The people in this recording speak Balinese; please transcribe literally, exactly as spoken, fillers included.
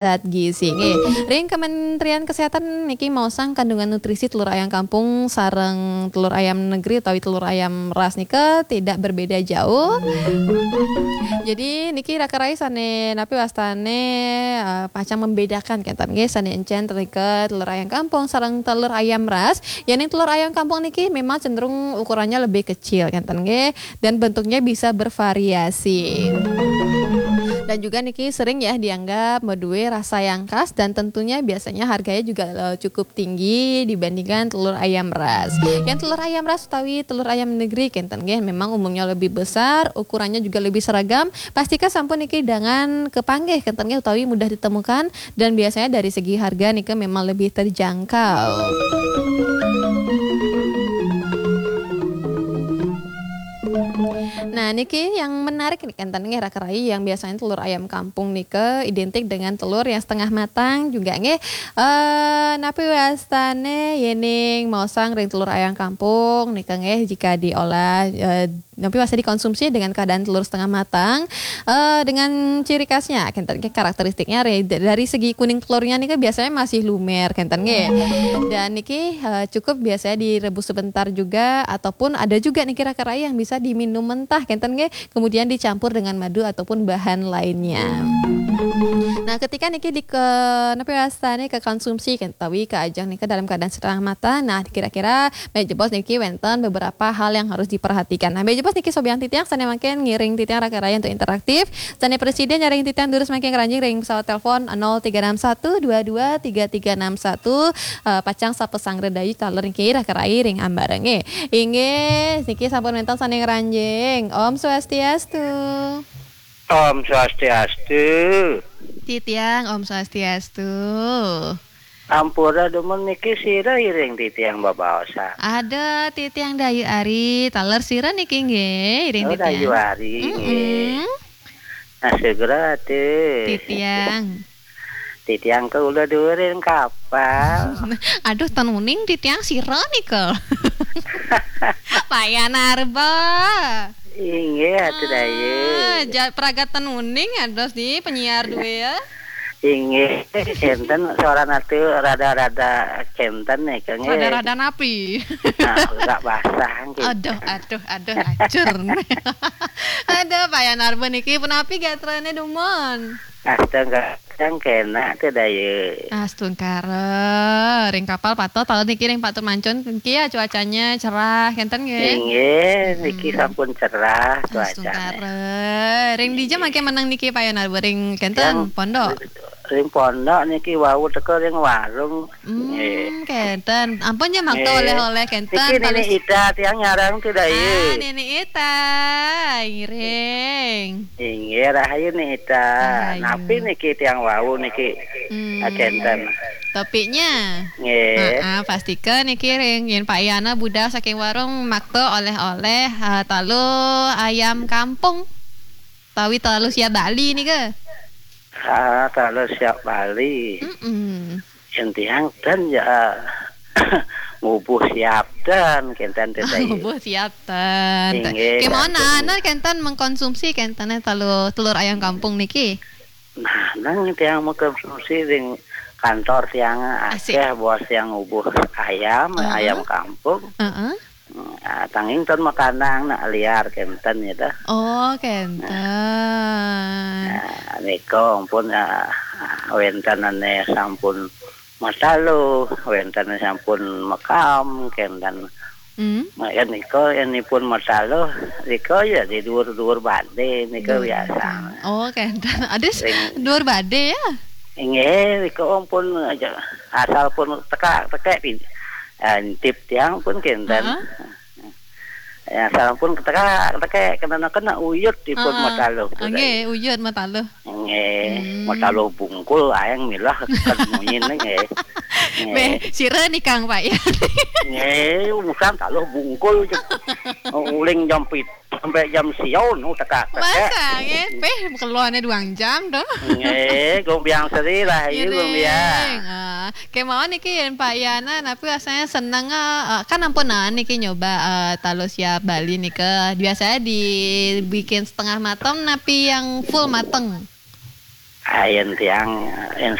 zat gizi. Nggih, ring Kementerian Kesehatan niki maosang kandungan nutrisi telur ayam kampung sareng telur ayam negeri utawi telur ayam ras nika tidak berbeda jauh. Jadi niki raka rai sane napi wastane, eh, pacang membedakan kenten nggih, sane encen nika telur ayam kampung sareng telur ayam ras. Yening telur ayam kampung niki memang cenderung ukurannya lebih kecil kenten nggih, dan bentuknya bisa bervariasi. Dan juga niki sering ya dianggap medue rasa yang khas dan tentunya biasanya harganya juga, eh, cukup tinggi dibandingkan telur ayam ras. Yang telur ayam ras utawi telur ayam negeri kenten nggih memang umumnya lebih besar, ukurannya juga lebih seragam. Pastika sampun niki dengan kepanggih kenten nggih utawi mudah ditemukan dan biasanya dari segi harga nika memang lebih terjangkau. Nah, niki yang menarik nih kenten nggih raka rai, yang biasanya telur ayam kampung nika identik dengan telur yang setengah matang juga nggih. Eh, napi wastane yening maosang ring telur ayam kampung nika nggih, jika diolah, eh, napi wasta dikonsumsi dengan keadaan telur setengah matang, eh, dengan ciri khasnya kenten nggih, karakteristiknya re-, dari segi kuning telurnya nika biasanya masih lumer kenten nggih. Dan niki, eh, cukup biasanya direbus sebentar juga ataupun ada juga niki raka rai yang bisa diminum mentah kenten nggih, kemudian dicampur dengan madu ataupun bahan lainnya. Nah, ketika niki di ke, napi wastane ke konsumsi kenten utawi ke ajeng nika dalam keadaan setengah matang, nah kira-kira Meh jebos niki wenten beberapa hal yang harus diperhatikan. Nah, meh jebos niki sobian titiang sane mangkin ngiring titiang raka rai untuk interaktif. Sane presiden nyaring titiang durus mangkin ngranjing ring pesawat telepon nol tiga enam satu dua dua tiga tiga enam satu. Eh, pacang sapasanggra dayu taler niki raka rai ring ambareng. Inggih, niki sampun wenten sane ngranjing. Om Swastiastu. Om Swastiastu. Titiang, Om Swastiastu. Ampura dumun, niki sira iring titiang babaosan? Ada titiang Dayu Ari, taler sira niki nggih, iring Oh, titiang. Dayu Ari nggih. Mm-mm. Nah, segera tuh. Titiang. Titiang ke ula durin kapal. Aduh, ten uning titiang sira nika. Payah narba. Inggih, atuh Dayu. Ah, ja-, pragat ten uning ados di penyiar dua ya. Inggih, kenten suara natu rada-rada kenten nih, Kang, eh. Rada-rada napi? Nah, agak basah, gitu. Aduh, aduh, aduh, acur. Aduh, payah narba niki, punapi gatrane dumun? Astaga, yang kena tuh, Dayu. Astungkara, ring kapal patut, taler niki ring patut mancun, niki ya cuacanya cerah, kenten nggih? Inggih, niki Mm-mm. sampun cerah cuacanya. Astungkara. Ring dija Inggih. Mangke menang niki, payah narba ring kenten, Yang pondok? Ring pondok niki wau teka ring warung. Hmm, Nggih. Kenten. Ampun ya, makta Nggih. Oleh-oleh kenten. Niki Nini Ita tiang nyarang tuh, Dayu. Ah, Nini Ita. Ngiring. Inggih, rahayu Nini Ita. Rahayu. Napi niki tiang wau niki? Hmm. Ah, kenten. Topiknya? Nggih. Ah, ah, pastika niki ring yen Pak Yana budal saking warung makta oleh-oleh, ah, talu ayam kampung. Tawi talu siap Bali nika. Ah, talu siap Bali. Mm-mm. Yen tiang ten ya, ngubuh siap ten, kenten teh, Dayu. Ngubuh siap ten. Inggih, Kemana kenten. Ana kenten mengkonsumsi kenten talu telur ayam kampung niki? Nah, nang tiang mengkonsumsi ring kantor tiang Asik. Akeh bos tiang ngubuh ayam, Heeh. Ayam kampung. Heeh. Hmm, ah, tanging ten makanang nak liar kenten ya dah. Oh, kenten. Nah, nika ampun, ah, ah, wenten ane sampun mataluh, wenten sampun makam kenten. Hmm. Yen nika yen ipun mataluh, nika ya di dhuwur-dhuwur bade nika Dhuwur biasa. Bade. Oh, kenten. Adus Ring dhuwur bade ya? Inggih, nika ampun aja asal pun tekak-tekek pin-, eh, tip tiang pun kenten. Heeh. Ya, sampun ketekak, ketekek, kena, kena uyut ipun Heeh. Mataluh tu Nggih, tadi. Uyut mataluh. Nggih, Hmm. Mataluh bungkul aeng milah kan munyin nggih. Nggih. Beh, sira ni Kang Pak ya. Nggih, bukan taluh bungkul je. Uling jam pit sampai jam sia nu tekak-tekek. Masa nggih? Beh, keluarnya dua jam tu. Nggih, gumbiang seri lah, ayu Ngiring. Gumbiang. Ah, Kemawon niki yen Pak Yana, napi rasanya seneng, eh, kan ampun nah niki nyoba, eh, talu siap Bali nika. Biasanya dibikin setengah mateng, napi yang full mateng? Ayen tiang, yen